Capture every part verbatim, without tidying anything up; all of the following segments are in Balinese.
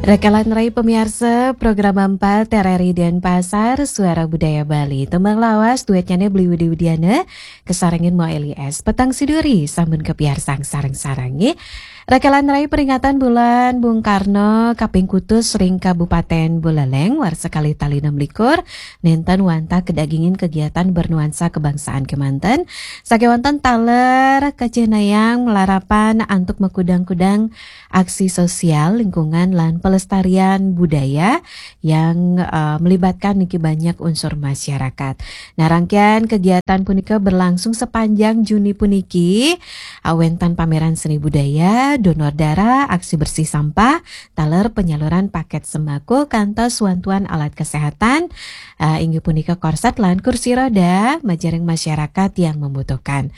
Rakalan rai pamiarsa, program empat R R I Denpasar, Suara Budaya Bali. Tembang lawas, duetnya ne Beli Widi Widiana, kasarengin Mo Eli S. Petang Siduri, sampun kapiarsang sareng-sareng, nggih. Rakalan rai peringatan bulan Bung Karno kaping kutus ring Kabupaten Buleleng, warsa kalih tali enam likur, nenten wantah kadagingin kegiatan bernuansa kebangsaan kemanten, sakewanten taler kacihnayang malarapan antuk makudang-kudang aksi sosial lingkungan lan pelestarian budaya yang, eh, melibatkan niki banyak unsur masyarakat. Nah, rangkaian kegiatan punika berlangsung sepanjang Juni puniki, eh, wenten pameran seni budaya, donor darah, aksi bersih sampah, taler penyaluran paket sembako, kantos wantuan alat kesehatan, eh, inggih punika korset lan kursi roda, majaring masyarakat yang membutuhkan.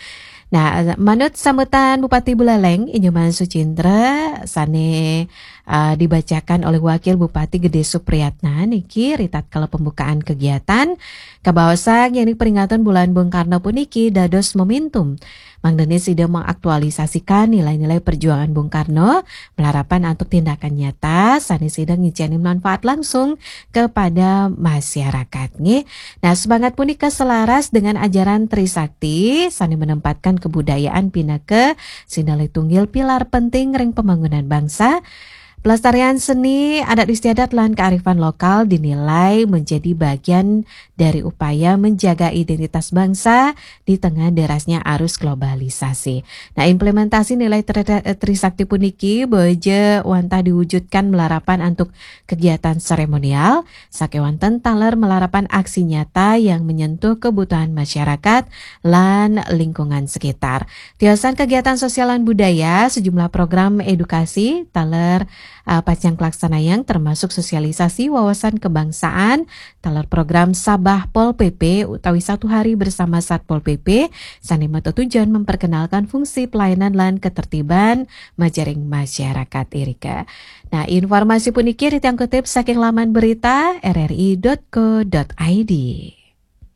Nah, manut sambutan Bupati Buleleng, I Nyoman Sucindra, sane, eh, dibacakan oleh Wakil Bupati Gede Supriyatna niki ritatkala pembukaan kegiatan, kabaosang yen peringatan Bulan Bung Karno puniki dados momentum mangdene sida mengaktualisasikan nilai-nilai perjuangan Bung Karno, malarapan antuk tindakan nyata sane sida ngicenin manfaat langsung kepada masyarakat, nggih. Nah, semangat punika selaras dengan ajaran Trisakti sane menempatkan kebudayaan pinaka sinalih tunggil pilar penting ring pembangunan bangsa. Pelestarian seni, adat istiadat, lan kearifan lokal dinilai menjadi bagian dari upaya menjaga identitas bangsa di tengah derasnya arus globalisasi. Nah, implementasi nilai tri-, Trisakti puniki bojo wantah diwujudkan malarapan antuk kegiatan seremonial, sakewanten taler malarapan aksi nyata yang menyentuh kebutuhan masyarakat lan lingkungan sekitar. Tiosan kegiatan sosial lan budaya, sejumlah program edukasi taler, eh, pacang kalaksanayang, termasuk sosialisasi wawasan kebangsaan, taler program Sabah Pol P P utawi Satu Hari Bersama Satpol P P, sane matetujon memperkenalkan fungsi pelayanan lan ketertiban majaring masyarakat irika. Nah, informasi puniki titiang kutip saking laman berita R R I dot co dot I D.